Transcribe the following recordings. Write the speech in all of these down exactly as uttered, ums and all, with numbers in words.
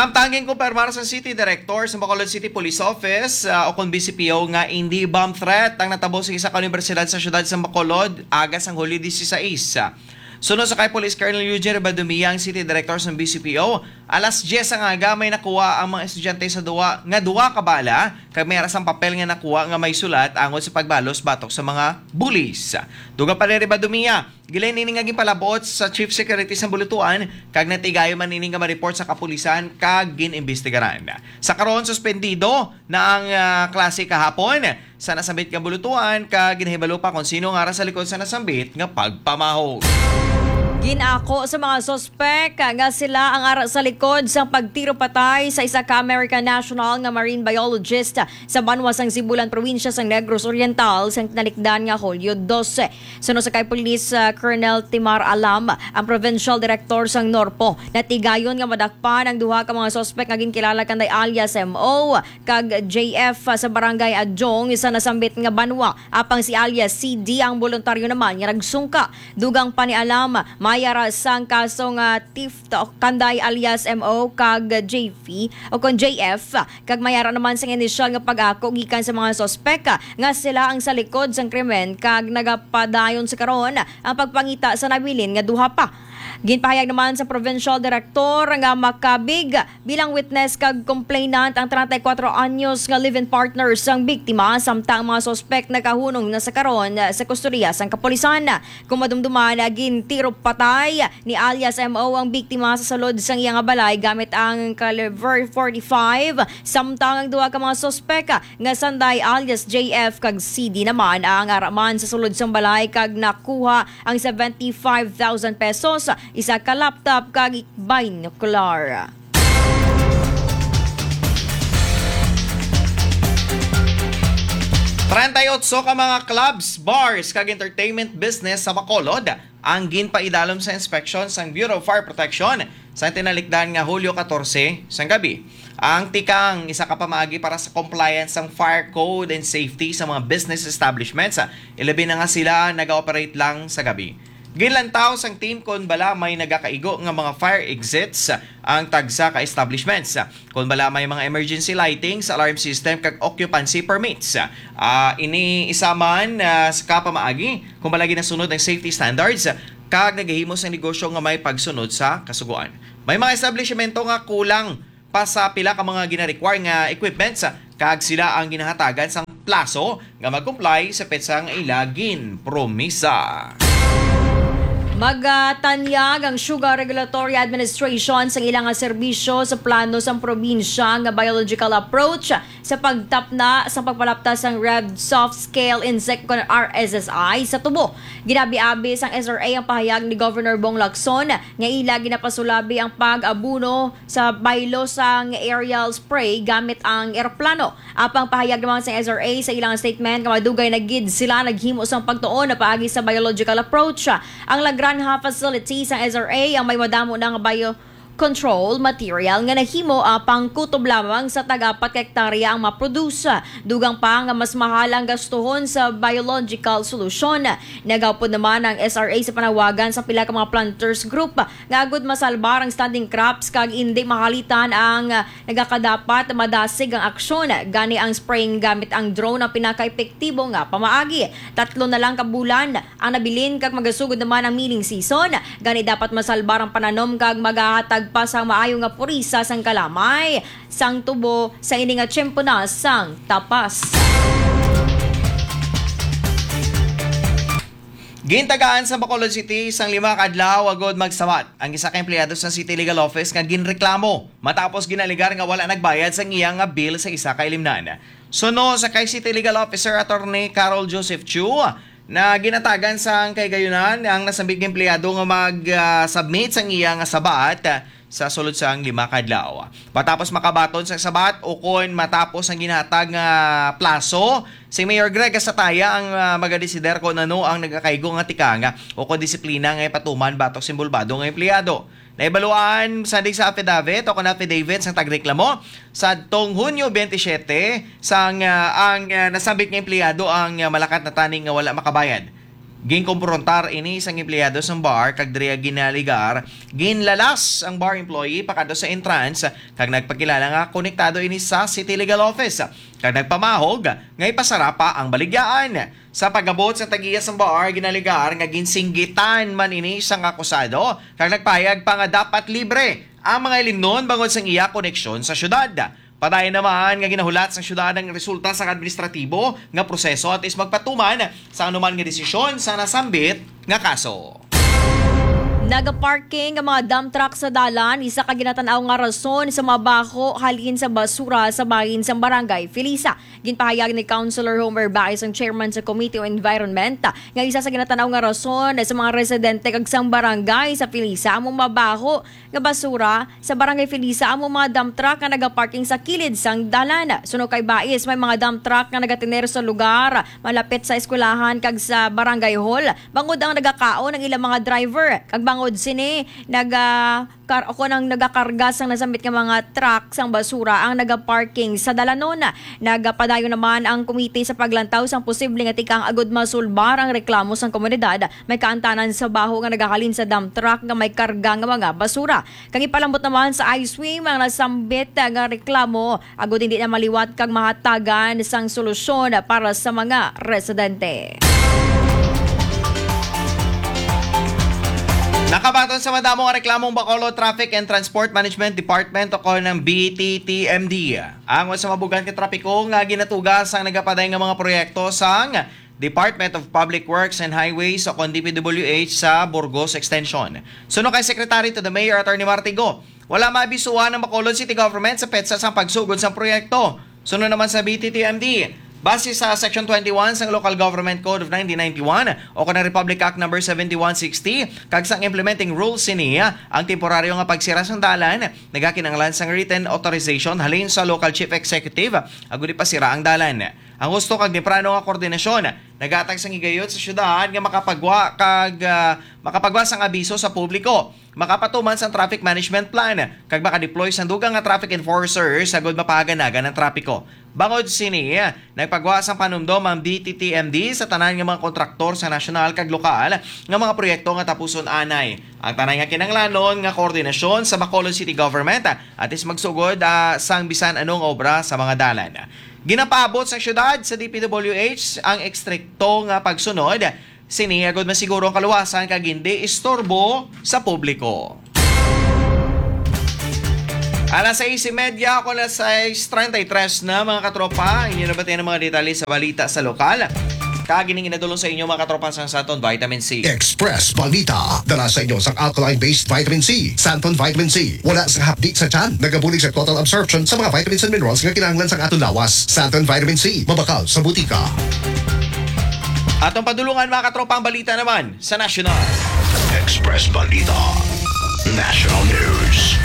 Samtang ginkumpirmar sa City Director sa Bacolod City Police Office, ah, o kon B C P O, nga hindi bomb threat ang natabo sa isa ka unibersidad sa siyudad sa Bacolod, aga sang Hulyo dieciséis. Suno sa kay Police Colonel Eugene Ribadumia, ang City Director sa B C P O, alas diyes ang aga may nakuha ang mga estudyante sa duwa nga duwa ka bala, kag may ara sang papel nga nakuha nga may sulat angod sa pagbalos batok sa mga bulis. Dugang pa ni Ribadumia, gilain ini nga ginpalabot sa Chief Security sa Bulutuan, kag natigayon man ini nga ma-report sa kapulisan kag gin-imbestigaran. Sa karon, suspendido na ang, ah, klase kahapon sa nasambit nga bulutuan, kag ginahibalo pa kung sino nga ara sa likod sa nasambit nga pagpamahog. Ginako sa mga suspek nga sila ang ara sa likod sang pagtiro patay sa isa ka American national nga marine biologist sa banwa sang Sibulan, probinsya sang Negros Oriental, sang tinalikdan nga Hulyo dose. Suno sa kay Police, ah, Colonel Timar Alam, ang provincial director sang NORPO, natigayon nga madakpan ang duha ka mga suspek nga ginkilala kanday alias M O kag J F sa Barangay Adjong sa nasambit nga banwa, apang si alias C D ang boluntaryo naman nga nagsungka. Dugang pa ni Alam, may ara sang kaso nga theft kanday alias M O kag J F o kon J F, kag may ara naman sang inisyal nga pag-ako gikan sa mga suspek nga sila ang sa likod sang krimen, kag nagapadayon sa karon ang pagpangita sa nabilin nga duha pa. Ginpahayag naman sa provincial director nga makabig bilang witness kag complainant ang treinta y cuatro anyos nga live-in partner sang biktima, samtang ang mga suspek nakahunong na sa karon sa kustodiya sang kapulisan. Kung madumduman, gintiro patay ni alias M O ang biktima sa sulod sang iya nga balay gamit ang caliber forty-five, samtang ang duha ka mga suspek nga sanday alias J F kag C D naman ang araman sa sulod sang balay kag nakuha ang seventy-five thousand pesos, isa ka laptop kag binocular. Treinta y ocho ka mga clubs, bars, kag entertainment business sa Bacolod ang ginpaidalom sa inspection sang Bureau of Fire Protection sa tinalikdan nga Hulyo catorce sang gabi. Ang tikang isa ka pamaagi para sa compliance sang fire code and safety sa mga business establishments, ilabi na nga sila naga-operate lang sa gabi. Ginlantaw sang team kon bala may nagakaigo nga mga fire exits ang tagsa ka establishments, kon bala may mga emergency lighting sa alarm system kag occupancy permits. Ah, ini isa man, ah, sa kapamaagi kon bala ginasunod ang safety standards kag nagahimo sang negosyo nga may pagsunod sa kasugoan. May mga establishmento nga kulang pa sa pila ka mga gina-require nga equipments, kag sila ang ginahatagan sang plaso nga mag-comply sa petsa nga ila ginpromisa. Magatanyag ang Sugar Regulatory Administration sang ila nga serbisyo sa plano sang probinsya nga biological approach sa pagtapna sa pagpalapta sang Red Soft Scale Insect, kon R S S I, sa tubo. Ginabi-abi sang S R A ang pahayag ni Governor Bong Lacson nga ila ginapasulabi ang pag-abuno sa baylo sang aerial spray gamit ang eroplano. Apang pahayag naman sang S R A sa ilang statement nga madugay na gid sila naghimo sang pagtuon na paagi sa biological approach. Ang La Granja facility sang S R A ang may madamo na nga bio control material nga nahimo, apang kutob lamang sa tag-apat ka hektarya ang maproduce. Dugang pa nga mas mahal ang gastuhon sa biological solution. Nagaupod naman ang S R A sa panawagan sa pila ka mga planters group nga agud masalbar ang standing crops kag indi mahalitan ang nagakadapat madasig ang aksyon. Gani ang spraying gamit ang drone ang pinakaepektibo nga pamaagi. Tatlo na lang ka bulan ang nabilin kag magasugod naman ang milling season. Gani dapat masalbar ang pananom kag magahatag pa sang maayo nga purisa sang kalamay sang tubo sa ini nga tiyempo na sang tapas. Gintagaan sa Bacolod City sang lima ka adlaw agud magsabat ang isa ka empleyado sa City Legal Office nga ginreklamo matapos ginalegar nga wala nagbayad sang iya nga bill sa isa ka ilimnan. Suno sa kay City Legal Officer Attorney Carol Joseph Chu, na ginatagan sang kahigayunan ang nasambit nga empleyado nga mag, ah, submit sang iya nga sabat, ah, sa sulod sang lima ka adlaw. Matapos makabaton sang sabat o kon matapos ang ginhatag nga plaso, si Mayor Greg Gasataya ang, ah, magadesider kon ano ang nagakaigo nga tikang o kon disiplina nga ipatuman batok sa inbolbado nga empleyado. Naibaluan sa di sa affidavit o kon affidavit sang tagreklamo, sadtong Hunyo twenty-seven, sang, ah, ang, ah, nasambit nga empleyado ang, ah, malakat na tani nga wala makabayad. Ginkumprontar ini sang empleyado sang bar kag diri ginaligar, ginlalas ang bar employee pakadto sa entrance kag nagpakilala nga konektado ini sa City Legal Office kag nagpamahog nga ipasara pa ang baligyaan. Sa pag-abot sa tag-iya sang bar, ginaligar nga ginsinggitan man ini sang akusado kag nagpahayag pa nga dapat libre ang mga ilimnon bangod sang iya koneksyon sa syudad. Padayon naman nga ginahulat sang syudad ang resulta sang administratibo nga proseso antes magpatuman sa anuman nga desisyon sa nasambit nga kaso. Nagaparking ang mga dump truck sa dalan, isa ka ginatan-aw nga rason sa mabaho halin sa basura sa bahin sang Barangay Felisa. Ginpahayag ni Councilor Homer Baez, ang chairman sa Committee on Environment, nga isa sa ginatan-aw nga rason sa mga residente kag sang barangay sa Felisa amo mabaho nga basura sa Barangay Felisa amo mga dump truck nga nagaparking sa kilid sang dalan. Suno kay Baez, may mga dump truck nga nagatener sa lugar malapit sa eskwelahan kag sa barangay hall, bangod ang nagakaon ang ilang mga driver, kag bangod sini naga kar o kon ang nagakarga sang nasambit nga mga truck sang basura ang nagaparking sa dalanon. Nagapadayon naman ang komite sa paglantaw sang posible nga tikang agud masulbar ang reklamo sang komunidad. May kaantanan sa baho nga nagahalin sa dump truck nga may karga nga mga basura. Kag ipalambot naman sa I swim ang nasambit nga reklamo agud hindi na maliwat kag mahatagan sang solusyon para sa mga residente. Nakabaton sa madamo nga reklamong Bacolod Traffic and Transport Management Department o kon ang B T T M D ang sa mabugan ka trapiko nga ginatuga sang nagapaday nga mga proyekto sang Department of Public Works and Highways o kon D P W H sa Burgos Extension. Suno kay Secretary to the Mayor Attorney Martigo, wala maabisuhan ang Bacolod City Government sa petsa sang pagsugod sang proyekto. Suno naman sa B T T M D, base sa Section twenty-one sang Local Government Code of nineteen ninety-one o kon ang Republic Act Number seventy-one sixty kag sang implementing rules sini, ang temporaryo nga pagsira sang dalan nagakinahanglan sang written authorization halin sa Local Chief Executive agud ipasira ang dalan. Ang husto kag temprano nga koordinasyon naghatag sang higayot sa syudad nga makapagwa kag, ah, makapagwa sang abiso sa publiko, makapatuman sang traffic management plan, kag makadeploy sang dugang nga traffic enforcers agud mapahaganagan ang trapiko. Bangod sini, nagpagwa sang panumdom ang D T T M D sa tanan nga mga kontraktor sa nasyonal kag lokal nga mga proyekto nga tapuson anay. Ang tanan nga kinahanglanon nga koordinasyon sa Bacolod City Government antes magsugod, ah, sang bisan ano nga obra sa mga dalan. Ginapaabot sa syudad sa D P W H ang estrikto nga pagsunod sini agud masiguro ang kaluwasan kag hindi istorbo sa publiko. Alas sais y media, ako alas sais treinta y tres na, mga katropa. Inyo nabatian ang mga detalye sa balita sa lokal. Kag ining inadulong sa inyo, mga katropa, sang Santon Vitamin C. Express Balita, dala sa inyo sang alkaline-based vitamin C, Santon Vitamin C. Wala sang hapdi sa tiyan, nagabulig sa total absorption sa mga vitamins and minerals nga kinahanglan sang aton lawas. Santon Vitamin C, mabakal sa butika. Atong padulungan, mga katropa, ang balita naman sa nasyonal. Express Balita National News.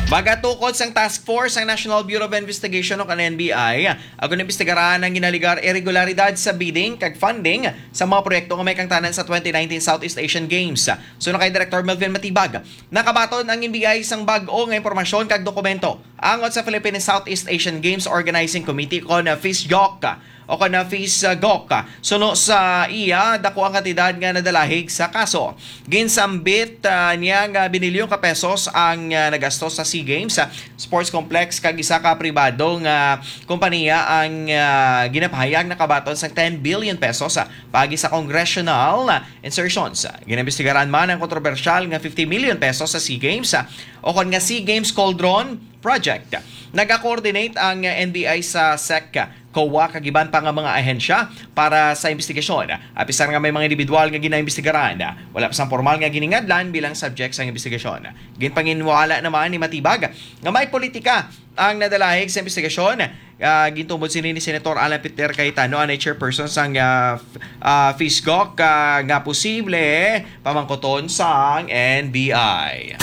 Magatukod sang task force ang National Bureau of Investigation o kan N B I agud imbestigaran ang ginaligar irregularidad sa bidding kag funding sa mga proyekto nga may kangtanan sa twenty nineteen Southeast Asian Games. Suno kay Director Melvin Matibag, nakabaton ang N B I sang bag-o nga impormasyon kag dokumento angot sa Philippine Southeast Asian Games Organizing Committee kon FISGOC o kon FISGOC. Suno sa iya, dako ang kantidad nga nadalahig sa kaso. Ginsambit, ah, niya nga binilyon ka pesos ang, ah, nagastos sa SEA Games, ah, Sports Complex kag isa ka pribado nga kompanya ang, ah, ginapahayag nakabaton sang ten billion pesos, ah, paagi sa congressional, ah, insertions. Ginaimbestigaran man ang kontrobersyal nga fifty million pesos sa SEA Games, ah, o kon nga SEA Games Cauldron Project. Nag-coordinate ang, ah, N B I sa SEC, COA kag iban pa nga mga ahensya para sa imbestigasyon. Apisar nga may mga individual nga ginaimbestigaran, wala pa sang pormal nga giningadlan bilang subject sa imbestigasyon. Ginpanginwala naman ni Matibag nga may politika ang nadalahig sa imbestigasyon. Ah, gintumod sini ni Senator Alan Peter Cayetano, ang chairperson sang, ah, f-, ah, FISGOC, ah, nga posible pamangkuton sang N B I.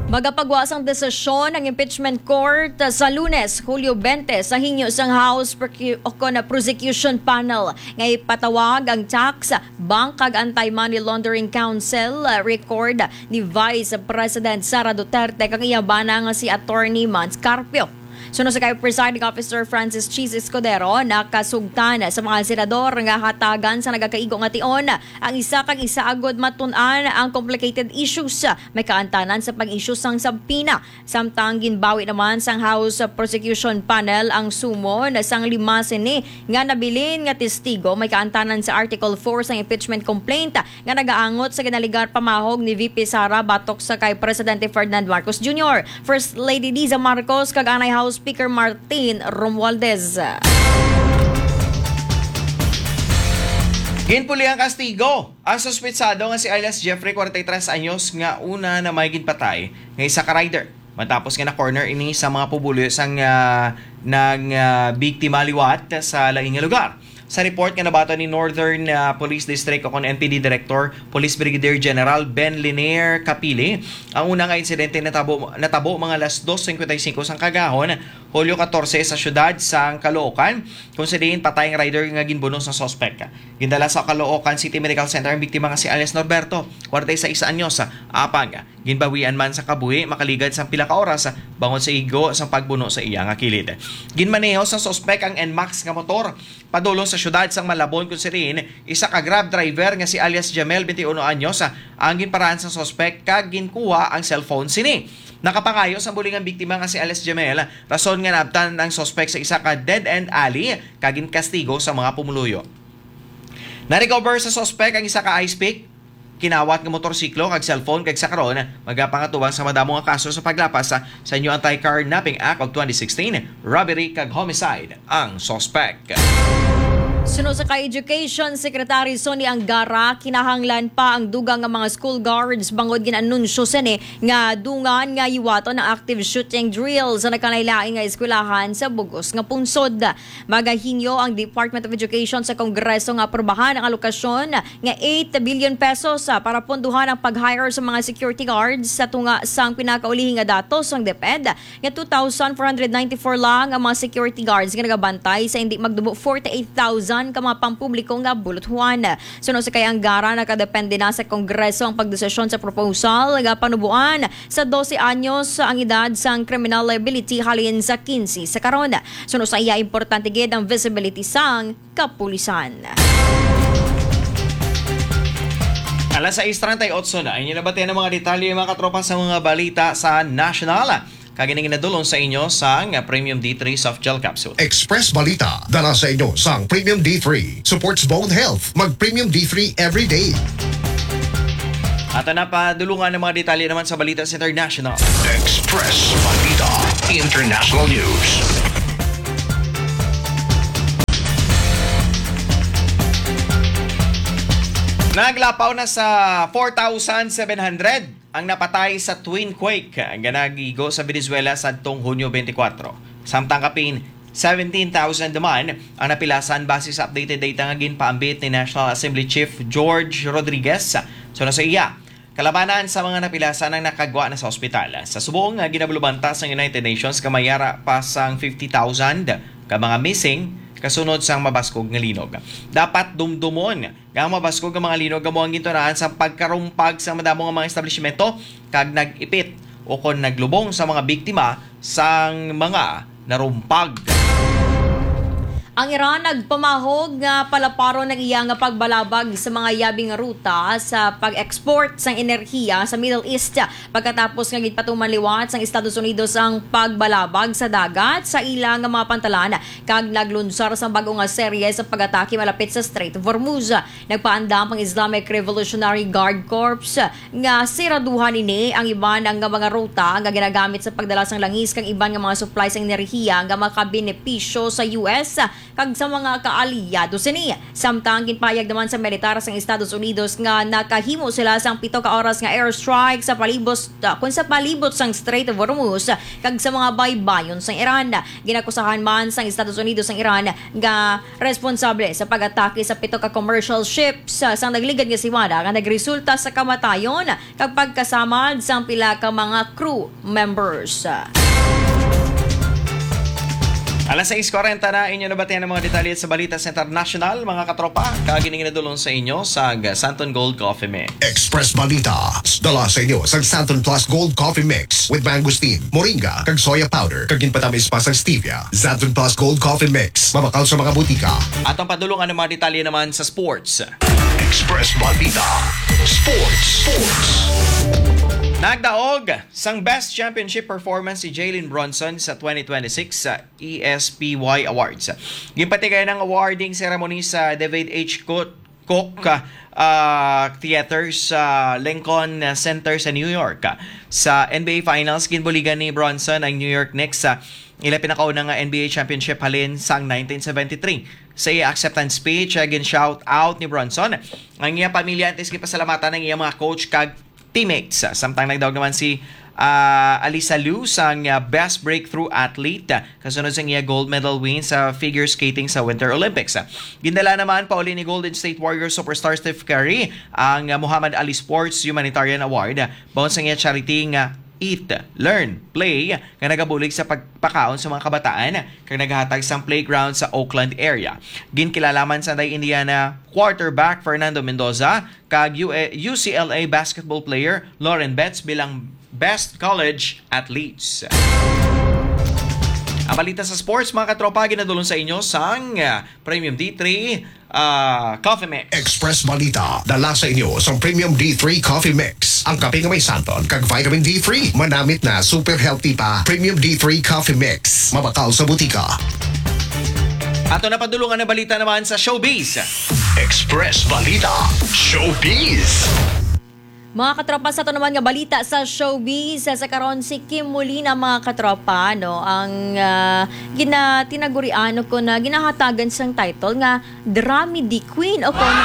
Magapagwa sang desisyon ang impeachment court sa Lunes, Hulyo twenty, sa hingyo sang House Procu-, o kon Prosecution Panel nga ipatawag ang tax, bank kag Anti-Money Laundering Council, ah, record ni Vice President Sara Duterte kag iya bana nga si Attorney Mans Carpio. Suno sa kay Presiding Officer Francis Cheese Escudero, nakasugtan sa mga senador nga hatagan sa nagakaigo nga tion ang isa kag isa agud matun-an ang complicated issues may kaantanan sa pag-issue sang subpoena. Samtang ginbawi naman sang House Prosecution Panel ang summon sang lima sini nga nabilin nga testigo may kaantanan sa Article four sang impeachment complaint nga nagaangot sa ginaligar pamahog ni V P Sara batok sa kay Presidente Ferdinand Marcos Junior, First Lady Liza Marcos, kag anay House Speaker Martin Romualdez. Ginpuli ang kastigo ang suspetsado nga si alias Jeffrey, kwarenta y tres anyos, nga una na may ginpatay nga isa ka rider, matapos nga na-corner ini sa mga pumuluyo sang, ah, nang, ah, biktima liwat sa lain nga lugar. Sa report nga nabaton ni Northern, ah, Police District o kon N P D Director, Police Brigadier General Ben Linier Capili, ang una nga insidente natabo, natabo mga alas dos cincuenta y cinco sang kagahon, Hulyo catorce, sa siyudad sang Caloocan, kung sa diin patay ang rider nga ginbuno sa suspek. Gindala sa Caloocan City Medical Center ang biktima nga si alias Norberto, kwarenta y seis anyos, apang ginbawian man sa kabuhi makaligad sang pila ka oras bangod sa igo sang pagbuno sa iya nga kilid. Ginmaneho sa suspek ang Nmax nga motor padulong sa siyudad sang Malabon, kung sa diin isa ka Grab driver nga si alias Jamel, twenty-one anyos, ang ginparaan sa suspek kag ginkuha ang cellphone sini. Nakapangayo sang buling ang biktima nga si alias Jamel, rason nga naabtan ang suspek sa isa ka dead-end alley kag ginkastigo sa mga pumuluyo. Na-recover sa suspek ang isa ka ice pick, kinawat nga motorsiklo kag cellphone, kag sa karon magapangatubang sa madamo nga kaso sa paglapas sa, sa New Anti-Carnapping Act of twenty sixteen, robbery kag homicide ang suspek. Suno sa kay Education Secretary Sonny Angara, kinahanglan pa ang dugang nga mga school guards bangod gin-anunsyo sini nga dungan nga hiwaton ang active shooting drill sa nagkalain-lain nga eskwelahan sa bug-os nga pungsod. Magahingyo ang Department of Education sa Kongreso nga aprobahan ang alokasyon nga eight billion pesos, ah, para pondohan ang pag-hire sa mga security guards. Sa tunga sang pinakaulihi nga datos sang DepEd, nga two thousand four hundred ninety-four lang ang mga security guards nga nagabantay sa hindi magdumo forty-eight thousand ka mga pampubliko nga buluthuan. Suno sa kay Angara, nakadepende na sa Kongreso ang pagdesisyon sa proposal nga panuboan sa dose anyos ang edad sang criminal liability halin sa quince sa karon. Suno sa iya, importante gid ang visibility sang kapulisan. Alas sais treinta y ocho na. Inyo nabatian ang mga detalye, mga katropa, sa mga balita sa national. Kag ini ginadulong sa inyo sang Premium D three Soft Gel Capsule. Express Balita, dala sa inyo sang Premium D three. Supports bone health. Mag Premium D three every day. Ato na padulungan ang mga detalye naman sa balita sa international. Express Balita International News. Naglapaw na sa four thousand seven hundred ang napatay sa twin quake nga nagigo sa Venezuela sadtong Hunyo twenty-four. Samtang kapin seventeen thousand naman ang napilasan, base sa updated data nga ginpaambit ni National Assembly Chief George Rodriguez. Suno sa iya, kalabanan sa mga napilasan ang nakagwa na sa ospital. Sa subong nga ginabulubanta sang United Nations nga may yara pa sang fifty thousand ka mga missing kasunod sang mabaskog nga linog. Dapat dumdumon nga ang mabaskog nga mga linog amo ang gintunaan sang pagkarumpag sa madamo nga mga establishmento kag nag-ipit ukon naglubong sa mga biktima sang mga narumpag. Ang Iran nagpamahog nga palaparon ang iya nga pagbalabag sa mga yabing ruta sa pag-export sang enerhiya sa Middle East, pagkatapos nga ginpatuman liwat sang Estados Unidos ang pagbalabag sa dagat sa ila nga mga pantalan kag naglunsar sang bag-o nga serye sa pag-atake malapit sa Strait of Hormuz. Nagpaandam ang Islamic Revolutionary Guard Corps nga siraduhan ini ang iban nga mga ruta nga ginagamit sa pagdala sang langis kag iban nga mga supply sa enerhiya nga makabenepisyo sa U S kag sa mga kaalyado sini. Samtang ginpahayag naman sa militar sang Estados Unidos nga nakahimo sila sang pito ka oras nga airstrike sa palibot, ah, kun sa palibot sang Strait of Hormuz kag sa mga baybayon sang Iran. Ginakusahan man sang Estados Unidos ang Iran nga responsable sa pag-atake sa pito ka commercial ships, ah, sang nagligad nga semana nga nagresulta sa kamatayon kag pagkasamad sang pila ka mga crew members. Alas sais kwarenta na, inyo nabatian ang mga detalye sa balita sa international, mga katropa. Kag ini ginadulong sa inyo sa Santon Gold Coffee Mix. Express Balita, dala sa inyo sa Santon Plus Gold Coffee Mix with mangosteen, moringa, kag soya powder, kag ginpatamis pa sa stevia. Santon Plus Gold Coffee Mix, mabakal sa mga butika. Atong padulungan ang mga detalye naman sa sports. Express Balita, Sports, Sports. Nagdaog sang Best Championship Performance si Jalen Brunson sa twenty twenty-six sa E S P Y Awards. Ginpatigayon ang awarding ceremony sa David H. Cook, Cook, ah, Theater sa Lincoln Center sa New York. Sa N B A Finals, ginbuligan ni Brunson ang New York Knicks sa ila pinakauna nga N B A championship halin sang nineteen seventy-three. Sa iya acceptance speech, ah, gin-shout out ni Brunson ang iya pamilya, antes gipasalamatan ang iya mga coach kag teammates. Samtang nagdaog naman si, ah, Alyssa Liu sang, ah, Best Breakthrough Athlete, ah, kasunod sang iya gold medal win sa figure skating sa Winter Olympics. Gindala naman pauli ni Golden State Warriors superstar Steph Curry ang, ah, Muhammad Ali Sports Humanitarian Award, ah, baon sang iya charity nga Eat, Learn, Play, nga nagabulig sa pagpakaon sa mga kabataan kag naghatag sang playground sa Oakland area. Ginkilala man sa Indiana quarterback Fernando Mendoza kag U- U C L A basketball player Lauren Betts bilang best college athletes. Ang balita sa sports, mga katropa, ginadulong sa inyo sang, ah, Premium D three, ah, Coffee Mix. Express Balita, dala sa inyo sang Premium D three Coffee Mix. Ang kape nga may santon kag vitamin D three, manamit na, super healthy pa. Premium D three Coffee Mix, mabakal sa butika. Ato na padulungan ang balita naman sa showbiz. Express Balita, Showbiz. Mga katropa, sa ato naman nga balita sa showbiz, sa karon si Kim Molina, mga katropa, no, ang, ah, gina-, tinagurian o kon, ah, ginahatagan sang title nga Dramedy Queen o kon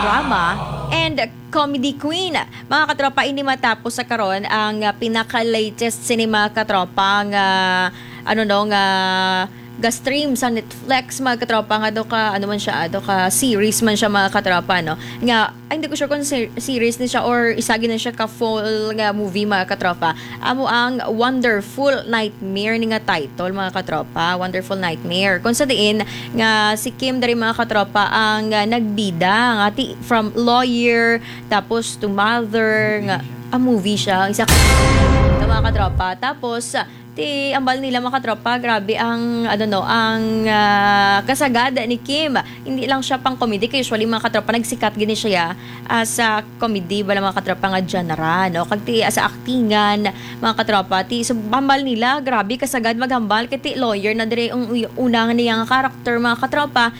Drama and Comedy Queen. Mga katropa, ini matapos sa karon ang, ah, pinaka-latest sini, mga katropa, nga, ano, no, nga ga-stream sa Netflix, mga katropa, nga do ka, ano man siya, ah, do ka series man siya, mga katropa, no? Nga, ay, hindi ko sure kung ser-, series ni siya or isa gid na siya ka full nga movie, mga katropa. Amo ang Wonderful Nightmare ni nga title, mga katropa. Wonderful Nightmare. Kung sa diin nga si Kim diri, mga katropa, ang, ah, nagbida nga ti-, from lawyer, tapos to mother, nga, ah, movie siya. Isa ka, mga katropa. Tapos, ah, Ti, ambal nila, mga katropa, grabe ang, ano, no, ang, ah, kasagad ni Kim. Hindi lang siya pang comedy, kay usually, mga katropa, nagsikat gini siya, ah, sa comedy, bala, mga katropa, nga genre, no? Kag ti, ah, sa actingan, mga katropa, ti, sa hambal nila, grabe kasagad maghambal, kay ti lawyer na diri ang uy-, una nga niya nga character, mga katropa.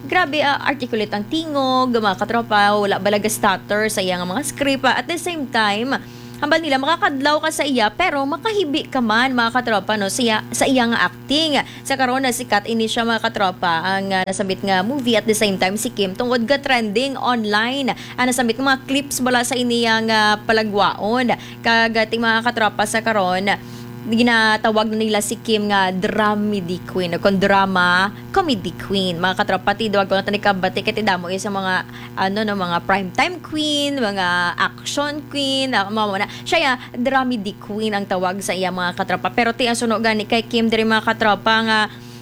Grabe, ah, articulate ang tingog, mga katropa, wala bala ga-stutter sa iya nga mga script. Ah, at the same time, hambal nila, makakadlaw ka sa iya, pero makahibi ka man, mga katropa, no, sa iya, sa iya nga acting. Sa karon, nasikat ini siya, mga katropa, ang, ah, nasambit nga movie. At the same time, si Kim, tungod ga trending online ang nasambit nga mga clips bala sa ini nga palagwaon. Kag, ah, ti, mga katropa, sa karon, ginatawag na nila si Kim nga dramedy queen o kon drama comedy queen. Mga katropa, ti, duwag ko na tani kabati kay ti damo iya sa mga, ano, no, mga primetime queen, mga action queen, ah, mao na. Siya ya, dramedy queen ang tawag sa iya, mga katropa. Pero ti, ang suno gani kay Kim diri, mga katropa, nga,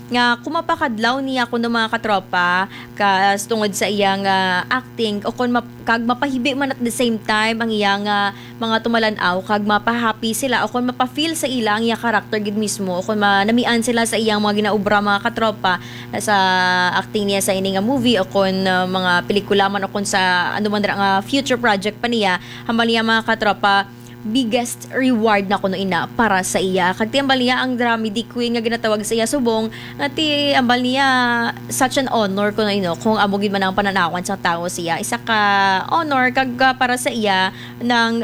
nga kung mapakadlaw niya kuno, mga katropa, kas tungod sa iya nga acting o kon map-, kag mapahibi man at the same time ang iya nga mga tumalan-aw kag mapahappy sila o kon mapa-feel sa ila ang iya character gid mismo o kon manamian sila sa iyang mga ginaobra, mga katropa, sa acting niya sa ini nga movie o kon, uh, mga pelikula man o kon sa ano man dira nga future project pa niya, hambal niya, mga katropa, biggest reward na kuno ina para sa iya. Kag ti hambal niya ang dramedy queen nga ginatawag sa iya subong, nga ti hambal niya such an honor kuno ino kung amo gid man ang pananawan sang tawo sa iya. Isa ka honor kag, ah, para sa iya, nang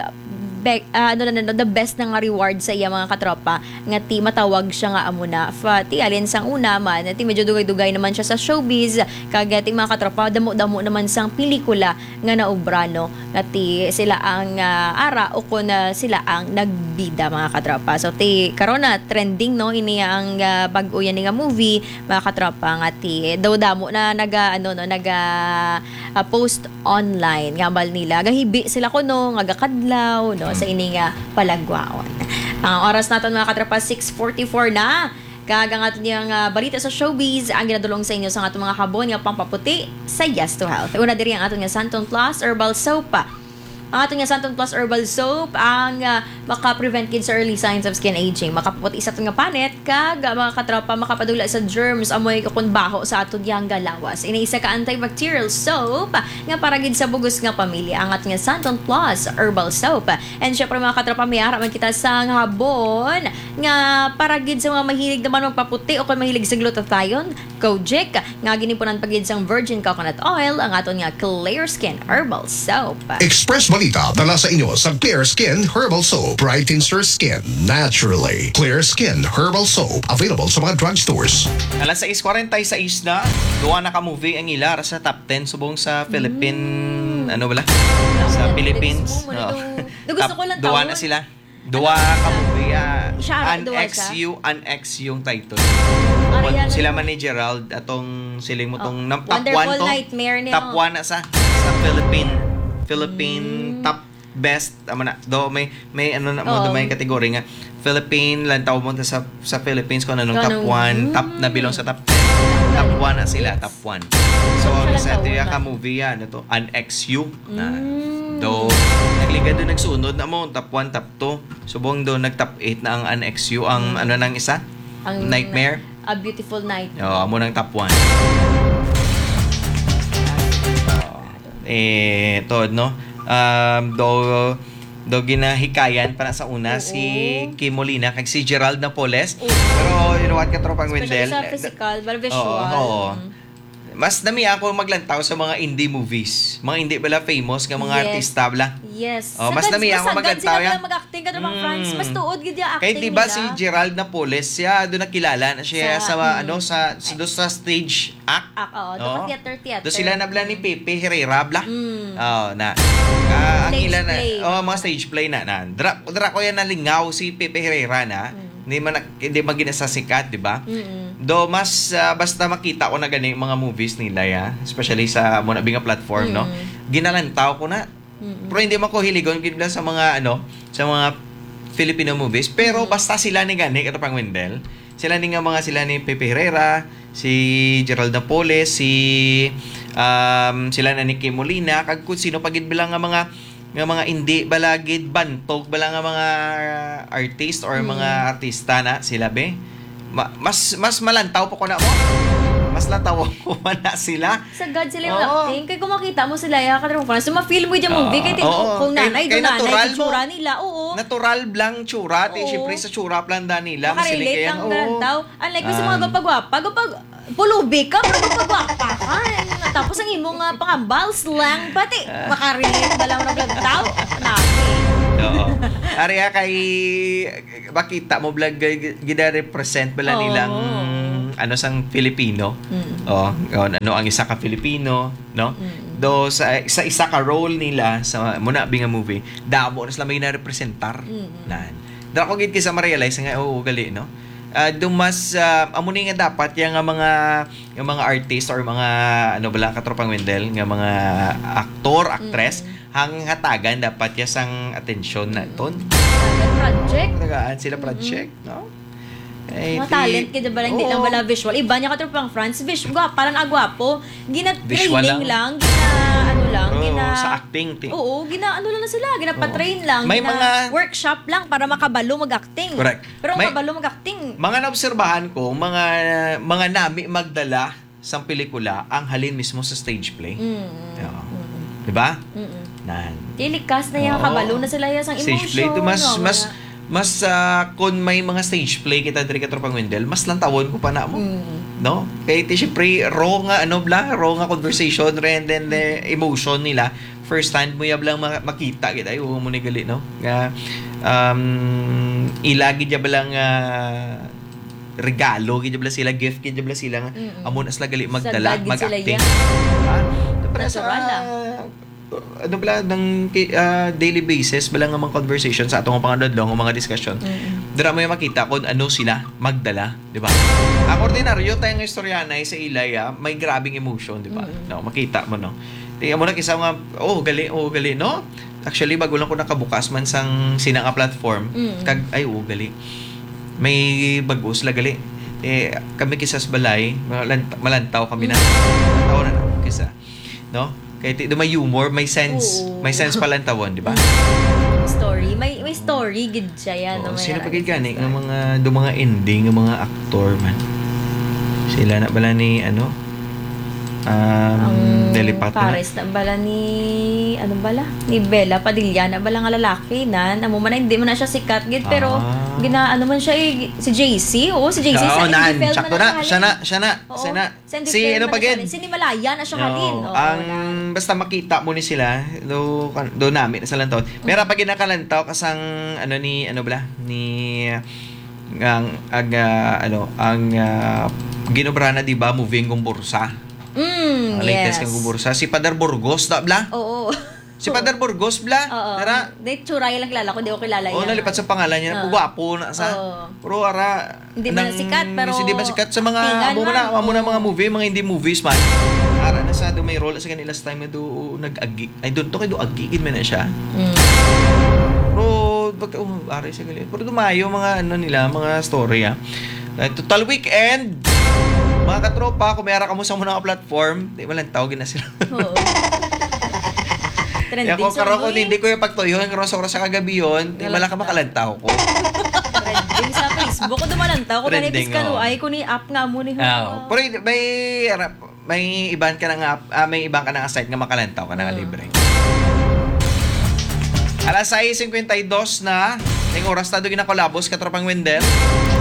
be-, ah, ano na, no, the best na nga reward sa iya, mga katropa, nga ti matawag siya nga amo na. Fa-, ti alin sang una man, ti medyo dugay-dugay naman siya sa showbiz, kag, ah, ti, mga katropa, damo-damo naman sang pelikula nga naobra, no, nga ti sila ang, ah, ara o kon, ah, sila ang nagbida, mga katropa. So ti karon na trending, no, ini ang, ah, bag-o yan nga movie, mga katropa, nga ti daw damo na naga, ano, no, naga, ah, post online nga hambal nila gahibi sila kuno nga gakadlaw, no, sa ini nga palagwaon. Ang oras naton, mga katropa, six forty-four na. Kag ang aton nga, ah, balita sa showbiz ang ginadulong sa inyo sa aton mga habon nga pampaputi sa Yes to Health. Una diri ang aton nga Santon Plus Herbal Soap. Ang aton nga Santon Plus Herbal Soap ang, ah, maka-prevent gid sa early signs of skin aging. Makapaputi sa aton nga panit kag, ah, mga katropa, makapadula sa germs amoy kukon baho sa aton nga lawas. Ini isa ka antibacterial soap nga para gid sa bugos nga pamilya, ang aton nga Santon Plus Herbal Soap. And syempre, mga katropa, may ara man kita sa habon nga para gid sa mga mahilig naman magpaputi o kung mahilig sa glutathione, Kojic, nga gininpunan pa gid sang virgin coconut oil, ang aton nga Clear Skin Herbal Soap. Express Balita dala sa inyo sa Clear Skin Herbal Soap. Brightens your skin naturally. Clear Skin Herbal Soap, available sa mga drugstores. Alas sais kwarenta y seis na, duha na ka movie ang ila sa top ten subong sa Philippine, Mm. ano bala? Sa Netflix Philippines. mo, muna Oo. to. Gusto Top ko lang duha taon. na sila. Duha ka movie, ah, Siya, An duha X siya? U, An X U ang title. Ariana. Sila man ni Gerald, atong siling mo Oh, tong nam-, top Wonderful one to. Nightmare niya, Top oh. one na sa, sa Philippine, Philippine Mm. top best, amo na. Do, may, may ano na mo, do, Oo. may category nga. Philippine, lantaw mo sa, sa Philippines kung anong Kung top anong, one, top na mm. bilong sa top ten. Top one na sila, Yes. top one. So, Siya lang sa taon tuya ka man. movie, ah, ano to, An X U. Na, Mm. do, nagligad do, nagsunod na mo, top one, top two. Subong do, nag-top eight na ang An X U, ang Mm. ano nang isa? Ang Nightmare. A Beautiful Night. Oo, amo nang top one. Oo. Eh, to, no? Um, do, do ginahikayan pa na sa una Oo. si Kim Molina kag si Gerald Napoles. Oo. Pero you know what, Katropang Especially Wendell? sa physical, but Oo, visual. oo. Mm. Mas nami ako maglantaw sa mga indie movies. Mga hindi bala famous nga mga Yes. artista bala. Yes. Oh, Sa mas gad-, nami ako masagad maglantaw sila yan. Mag-acting, Katropang Mm. Franz. Mas tuod gid yung Kay acting di ba nila. si Gerald Napoles, siya doon nakilala na siya Sa, sa, mm. ano, sa, sa, doon sa stage act. Ak-, oo, doon Oo. sa theater, theater. Doon sila na bala ni Mm. Pepe Herrera bala. Mm. Oo, na. Ah, ang Stage ila na, play. oh, mga stage play na, na. Dra-, dra ko yan nalingaw si Pepe Herrera na. Mm. Hindi man, hindi man gina sa sikat, di ba? Mm-mm. Do mas, ah, basta makita ko na gani mga movies nila, ya, especially sa mo na nga platform, no? Mm. Ginalantaw ko na. Mm-mm. Pero hindi man ko hiligon gid na sa mga, ano, sa mga Filipino movies. Pero Mm. basta sila ni gani, Katropang Wendell, sila ni nga mga, sila ni Pepe Herrera, si Gerald Napoles, si, um, sila na ni Kim Molina, kag kung sino pa gid bala nga mga nga mga hindi bala gid bantog bala nga mga artist or Mm. mga artista na sila, be. Ma-, mas, mas malantaw pa ko na mo. Mas lantaw ko pa na sila. Sagad sila yung Oo. acting. Kaya kung makita mo sila, ya, Katropang Franz, so ma-feel mo yung Oo. movie. Kaya tin-, Oo. kung Kay, nanay, kay doon nanay, natural. yung tsura nila, oo. Natural blang tsura. Ti, Oo. siyempre sa tsura plan da nila. Makarelate Masiligayan. lang Oo. malantaw. Unlike sa mga Ah. gwapa-gwapa, gwapa-, pulubi ka, pero gwapa-gwapa ka. Tapos ang imo nga pangambal, slang, pati Ah. makarelate ba lang na vlog tao? Nabi. Oo. Ari, ah, kay makita mo vlog, g-, g-, gina-represent bala Oo. nilang, ano, sang Filipino. Mm. Oh, oh, ano ang isa ka Filipino, no? Mm. Do sa, sa isa ka role nila sa muna bi nga movie, damo na sila may narepresentar. Mm. Nan. Dira ko gid kisa ma-realize nga, oo, gali, no? Ah, do mas, ah, amo ni nga dapat yang nga mga, nga mga artist or mga, ano bala, Katropang Wendell, nga mga aktor, actress, Mm. ang hatagan dapat ya sang atensyon na ton. Tagaan project. Tagaan sila Mm-mm. project, no? Ay, Mga ti-, talent, kaya ba lang, hindi lang oo. bala visual. Iba niya, Katropang Franz, vis-, gwapa lang, agwapo. Visual Gina-training lang. lang, gina-, ano lang, Pero gina-, sa acting, ti- oo, gina-, ano lang na sila, gina-patrain Oo. lang, May mga gina-workshop lang para makabalo mag-acting. Correct. Pero ang May kabalo mag-acting. mga naobserbahan ko, mga, mga nami magdala sang pelikula ang halin mismo sa stage play. Mm. Oo. Mm. Di ba? Mm. Nan. Di likas na yung Oo. kabalo na sila yung sang Stage play emotion, to, mas, oo, mas, wala. mas, ah, kung may mga stage play kita diri, Katropang Wendell, mas lantawon ko pa na mo. Mm. No? Kay ti, syempre, raw nga, ano bla, raw nga conversation, and then, eh, emotion nila. First hand mo yab lang ma-, makita gid ay, oo, mo ni gali, no? Nga, um, ila gid yab lang, ah, regalo gid bala sila, gift gid bala sila nga Mm-mm. amo na sila gali magdala, Sagad gid sila mag-acting. yan. Ha? Pero sa, Natural lang. ano bala, nang ki-, ah, daily basis bala nga mga conversation sa atong mga adlaw nga mga discussion, Mm-mm. dira mo yung makita kung ano sila magdala, di ba? Ang ordinaryo tayo nga istoryahanay sa ilay, ah, may grabing emotion, di ba? Mm-mm. No, makita mo, no? Di mo na kisa nga, "Oh, gali, oh, gali," no? Actually, bago lang ko nakabukas man sang sina nga platform, Mm. kag, "Ay, oh, gali." May bago sila gali. Eh, kami kisa sa balay, malan-, malantaw kami na. Mm. Malantaw na lang kisa. No? Kay ti-, do may humor, may sense. Oo. May sense palantawon, di ba? Mm. Story. May, may story gid siya yan, Oo, no? May sino pa gid gani nga mga, do mga ending, nga mga aktor man? Sila na bala ni, ano? Um, Ang Delipat na. Pares na bala ni, ano bala? Ni Bella Padilla na bala nga lalaki na. Amo man na, hindi man na siya sikat gid, pero Ah. gina-, ano man siya, eh, si J C. Oo, si J C Oo, sa nan. Seinfeld man Sakto na na. siya Siya na, halin. siya na. Oo. Siya na. Seinfeld Si ano man pa na siya gid? halin. Si ni Malaya na siya Oo, halin. Oo, ang na. basta makita mo ni sila, do, kan-, do nami na sa lantaw. Mm. Pero pag ginakalantaw ka sang, ano ni, ano bala? Ni, ang, ang, ah, ano, ang, ah, ginobra na, di ba, movie ang Gumbursa? Mm, Ang latest yes. ang Gumbursa. Si Father Burgos, da, bla? Oo. Si Father Burgos, bla? Oo. Tara. Di, tsura lang kilala ko, di ko kilala Oh, yan. nalipat sa pangalan niya. Oo. Gwapo na sa. Oo. Pero ara, Hindi man nang sikat, pero si, di ba sikat sa mga, actingan amo man. na, amo na Oo. mga movie, mga indie movies man. Ara na sa do may role sa kanila last time nga do nag-agi. I don't know kay do agi gid man na siya. Mm. Pero, bag-, oh, aray sa gali. Pero dumayo mga ano nila, mga story, ah. Eh, total weekend, mga katropa, kung may ara kamo sa muna nga platform, di man lang tawagin na sila. Oo. Trending Kaya kung sa karon, kung ano, eh. hindi ko yung pagtuyo, yung oras-oras sa kagabi yun, di Wala. wala ka makalantaw ko. Trending sa Facebook. Kung dumalantaw ko, Trending, kanibis ka, oh. no, ay, kung ni-up nga mo ni Ah, Hua. pero may, may iban ka na nga, ah, may iban ka na nga site nga makalantaw ka na nga Mm. libre. Alas sais cincuenta y dos na, ning oras na do ginakolabos, katropang Wendell.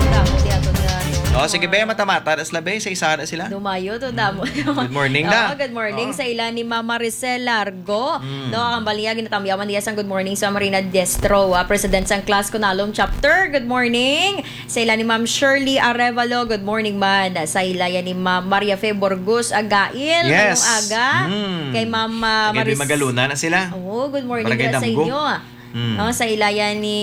Damo di ato nga, ano, Oh, sige, be, mga mata-mata, das labe, sa isa na sila. Dumayo to, damo. Mm. Good morning, Oo, da. good morning Oh. sa ila ni Mama Maricel Largo. Mm. No, ang baliya, ginatamyawan niya sang good morning sa Marina Destro, ah, President sang Class Kunalom Chapter. Good morning. Sa ila ni Ma'am Shirley Arevalo, good morning man. Sa ila yan ni Ma'am Maria Fe Burgos Agail, Yes. ngayong aga. Mm. Kay Ma'am, ah, Agail, Maris- Magaluna na sila. Oo, good morning Barangay nila sa Damgo. inyo. Mm. No, sa ila yan ni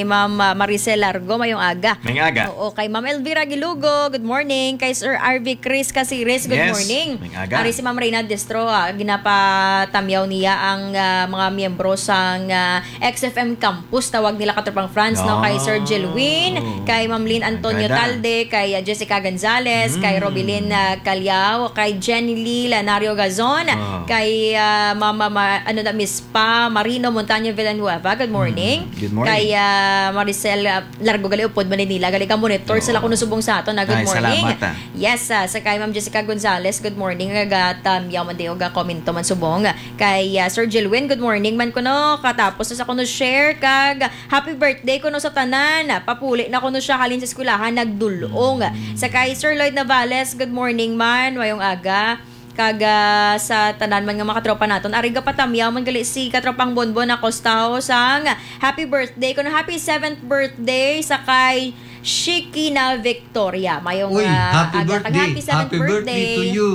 Ma'am, ah, Maricel Largo, mayong aga. Mayong aga. Oo, kay Ma'am Elvira Gilugo, good morning. Kay Sir R V Chris Casires, good Yes, morning. mayong aga. Ari si Ma'am Reyna Destro, ah, ginapatamyaw niya ang, ah, mga miyembro sang, ah, X F M Campus, tawag nila, katropang Franz, no? Kay Sir Oh. Jelwin, kay Ma'am Lynn Antonio Ang ganda. Talde, kay, ah, Jessica Gonzalez, kay Mm. Robilin, ah, Caliao, kay Jenny Lee Lanario Gazon, Ah. kay, ah, Mama Ma-, ano na, Miss Pa Marino Montaño Villanueva. Good morning. Mm. Good morning. Kay, ah, Maricel, ah, Largo gali upod Manila. Gali ka monitor Oo. sila kuno subong sa aton, ah. Good Ay, morning. salamat, ah. Yes, ah, sa kay Ma'am Jessica Gonzalez, good morning. Nagatamyaw man di og, ah, komento man subong. Kay, ah, Sir Jilwin, good morning man kuno. Katapos na sa kuno share kag happy birthday kuno sa tanan. Papuli na kuno siya halin sa eskwelahan, nagdul-ong. Mm. Sa kay Sir Lloyd Navales, good morning man, mayong aga. Kag, ah, sa tanan man nga mga katropa naton, ari gapatamyaw man gali si katropang Bonbon Acosta sang happy birthday kuno, happy seventh birthday sa kay Shikina Victoria. Mayong, Uy, ah, happy aga kag birthday. happy seventh Happy birthday to birthday. you.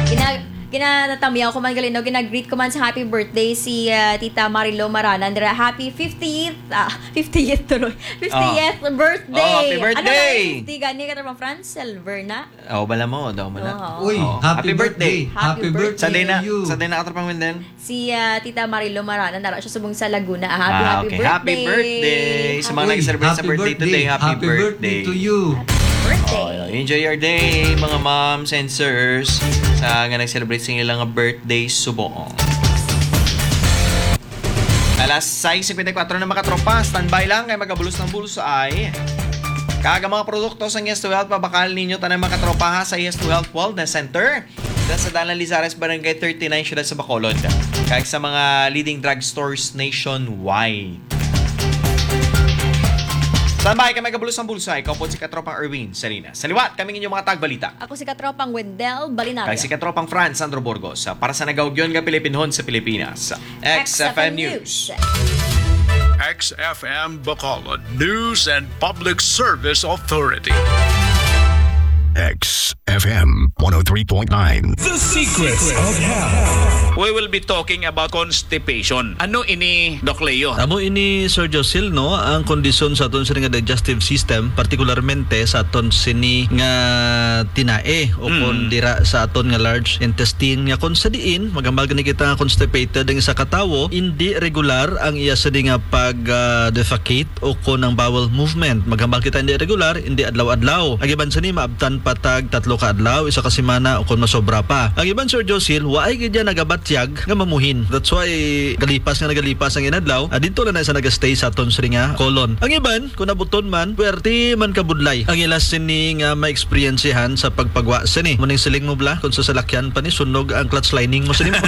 Gina-, ginatatamyaw ko man gali, no? Gina-greet ko man sa happy birthday si, ah, Tita Marilo Maranan dira. Happy fiftieth, ah, fiftieth tuloy. Fiftieth Oh. birthday. Oh, happy Ano na, birthday. fifty gani, katropang Franz? Silver na? Oh, bala mo, daw mo na. Oo. Uy, Oh, happy happy birthday. birthday. Happy Happy birthday birthday Sa to din na, you. sa din na, katropang Wendell. Si, ah, Tita Marilo Maranan, nara siya subong sa Laguna. Ah, happy, Ah, happy okay. Happy birthday. birthday. Sa mga Happy nag-celebrate sa Happy birthday today, birthday. happy Happy birthday birthday. to you. Birthday. Oh, enjoy your day, mga moms and sirs, sa nga nag-celebrate sa ilang birthday subong. Alas sais cincuenta y cuatro na, mga katropa. Standby lang kay magabulos ng bulsay. Kag ang mga produkto sa Yes to Health, pabakal ninyo tanan, mga katropa, ha, sa Yes to Health Wellness Center. Dyan sa Dalan Lizares, Barangay thirty-nine, siyudad sa Bacolod. Kag sa mga leading drugstores nationwide. Standby kay magabulos ng bulsay. Kaupod si Katropang Erwin Salinas. Sa liwat, kami inyong mga tagbalita. Ako si Katropang Wendell Balinaria. Kag si Katropang Franz Sandro Burgos, ah, para sa nagaugyon nga Pilipinhon sa Pilipinas. X F M News. X F M Bacolod News and Public Service Authority. X F M one oh three point nine. The Secrets of Health. We will be talking about constipation. Ano ini, Doc Leo? Amo ini, Sir Josil, no, ang kondisyon sa aton sini nga digestive system, partikularmente sa aton sini nga tinae o Mm. kon dira sa aton nga large intestine, nga kon sa diin maghambal gani kita nga constipated ang isa ka tawo, indi regular ang iya sini nga pag, ah, defecate o kon ang bowel movement. Maghambal kita indi regular, indi adlaw-adlaw. Ang iban sini maabtan pa tag tatlo ka adlaw, isa ka semana, o kon masobra pa. Ang iban, Sir Josil, waay gid niya nagabatyag nga mamuhin. That's why galipas nga nagalipas ang inadlaw, ah, dito lang na sa nagastay sa aton sini nga colon. Ang iban, kung nabuton man, puwerte man kabudlay ang ila sini nga maeksperiensyahan sa pagpagwa sini. Muning siling mo bala, kung sa salakyan pa ni, sunog ang clutch lining mo sini mo.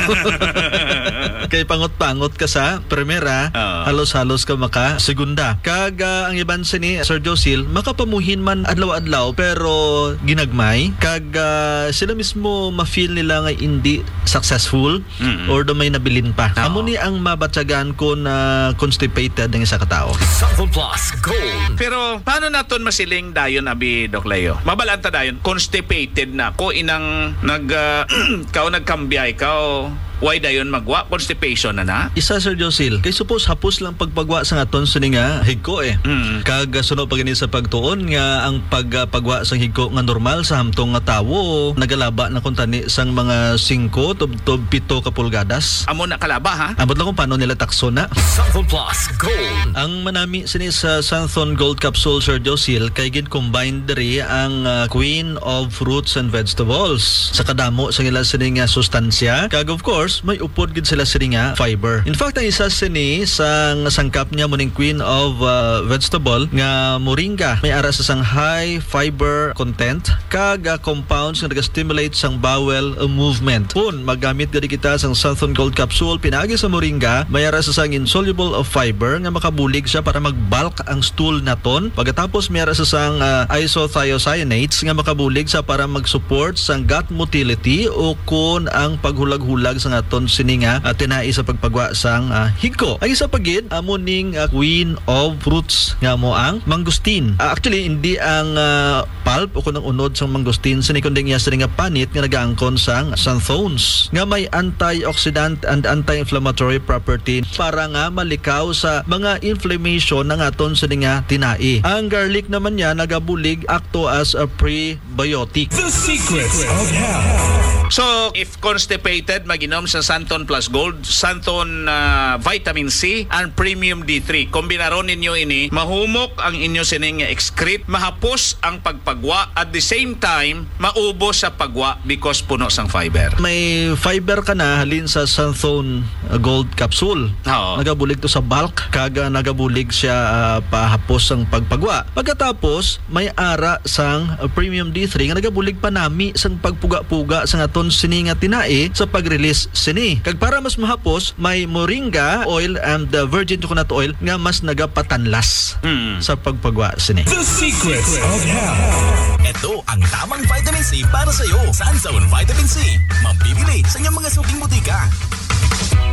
Kay pangot-pangot ka sa primera, Oo. halos-halos ka maka segunda. Kag, ah, ang iban sini, Sir Josil, makapamuhin man adlaw-adlaw, pero ginagmay. Kag, ah, sila mismo ma-feel nila nga hindi successful Mm-mm. or do may nabilin pa. Oo. Amo ni ang mabatyagan kon, ah, constipated ang isa ka tawo. Sample Plus Gold. Pero paano naton masiling dayon, abi, Doc Leo? Mabalaan ta dayon, constipated na ko, inang nag, ah, kao nagkambiay kao, way dayon magwa, constipation na na? Isa, Sir Josil, kay suppose hapos lang pagpagwa sa aton sini nga higko eh. Mm. Kag, ah, suno pa gani sa pagtuon nga ang pag, ah, pagwa sang higko nga normal sa hamtong nga tawo, nagalaba na kuntani sang mga singko tubtob pito ka pulgadas. Amo na kalaba, ha? Ambot lang kung paano nila takso na. Sample Plus Gold. Ang manami sini sa Santhon Gold Capsule, Sir Josil, kay gin-combine diri ang, ah, Queen of Fruits and Vegetables. Sa kadamo sa ila sini nga sustansya, kag of course, may upod gid sila sini nga fiber. In fact, ang isa sini sa nga sangkap niya muning Queen of, ah, Vegetable nga moringa. May ara sa sang high fiber content, kag, ah, compounds nga naga-stimulate sang bowel, uh, movement. Kon magamit gani kita sang Santhon Gold Capsule pinaagi sa moringa, may ara sa sang insoluble of fiber nga makabulig siya para mag-bulk ang stool naton. Pagkatapos, may ara sa sang, ah, isothiocyanates nga makabulig sa para mag-support sang gut motility o kon ang paghulag-hulag sa aton sini nga, ah, tinai sa pagpagwa sang, ah, higko. Ang isa pa gid, amo ning, ah, Queen of Fruits nga amo ang mangosteen. Ah, actually, hindi ang, ah, pulp o kon ang unod sang mangosteen sini, kundi ang iya sini nga panit nga nagaangkon sang xanthones nga may antioxidant and anti-inflammatory property para nga malikaw sa mga inflammation ang aton sini nga tinai. Ang garlic naman niya nagabulig akto as a prebiotic. The Secrets of Health. So, if constipated, mag-inom sa Santon Plus Gold, Santon, ah, Vitamin C, and Premium D three. Kombinaron ninyo ini, mahumok ang inyo sining excrete, mahapos ang pagpagwa, at the same time, maubos sa pagwa because puno sang fiber. May fiber ka na halin sa Santon, ah, Gold Capsule. Oo. Nagabulig to sa bulk, kag, ah, nagabulig siya, ah, pahapos ang pagpagwa. Pagkatapos, may ara sang, uh, Premium D three nga nagabulig panami sang pagpuga-puga sang aton sini nga tinai sa pag-release sini. Kag para mas mahapos, may moringa oil and, uh, virgin coconut oil nga mas nagapatanlas Mm. sa pagpagwa sini. The Secrets of Health. Ito ang tamang vitamin C para sa iyo. Sanzone Vitamin C. Mabibili sa inyong mga suking butika.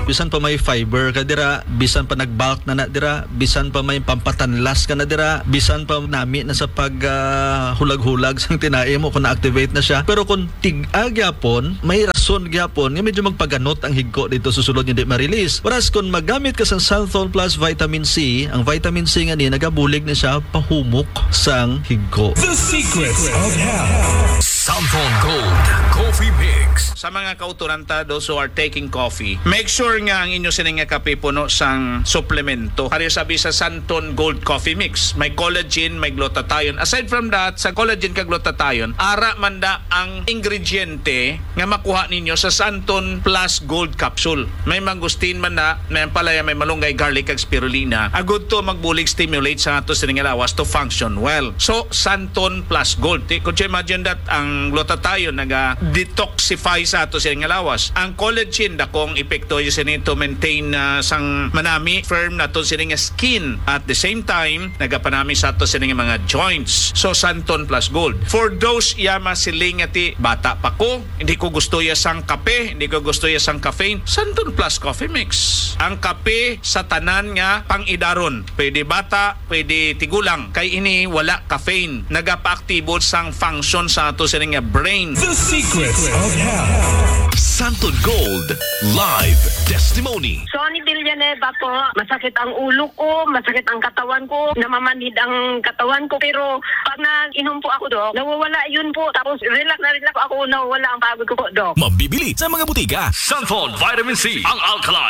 Bisan pa may fiber ka dira, bisan pa nag-bulk na na dira, bisan pa may pampatanlas ka na dira, bisan pa nami na sa pag, ah, hulag-hulag sang tinai mo kung na-activate na siya. Pero kung tig-a gyapon, may rason gyapon nga medyo magpaganot ang higko dito sa sulod nga di ma-release. Whereas kung magamit ka sang Santhon Plus Vitamin C, ang vitamin C nga ni nagabulig na siya pahumok sang higko. The Secrets of Health. Santhon Gold Coffee Mix. Sa mga kauturan ta, those who are taking coffee, make sure nga ang inyo sini nga kape puno sang suplemento. Ari sabi sa Santon Gold Coffee Mix, may collagen, may glutathione. Aside from that, sa collagen kag glutathione, ara man da ang ingrediente nga makuha ninyo sa Santon Plus Gold Capsule. May mangosteen man na, may ampalaya, may malunggay, garlic, kag spirulina. Agud to magbulig stimulate sa ato sining lawas to function well. So, Santon Plus Gold. Ti-, could you imagine that ang glutathione naga-detoxify sa ato sining lawas? Ang collagen, dakong epekto sini to maintain, ah, sang manami, firm nato sini nga skin. At the same time, nagapanami sa ato sini nga mga joints. So, Santon Plus Gold. For those iya masiling nga ti, "Bata pa ko, hindi ko gusto ya sang kape, hindi ko gusto ya sang caffeine," Santon Plus Coffee Mix. Ang kape sa tanan nga pang-idaron. Pwede bata, pwede tigulang. Kay ini wala caffeine. Nagapaaktibo sang function sa ato sini nga brain. The Secrets of Health. Santon Gold Live Testimony. Sonny Villanueva po, masakit ang ulo ko, masakit ang katawan ko, namamanhid ang katawan ko. Pero pag nag-inom po ako, Doc, nawawala yun po. Tapos relax na relax ako, nawawala ang pagod ko po, Doc. Mabibili sa mga butika. Santon Vitamin C, ang alkaline.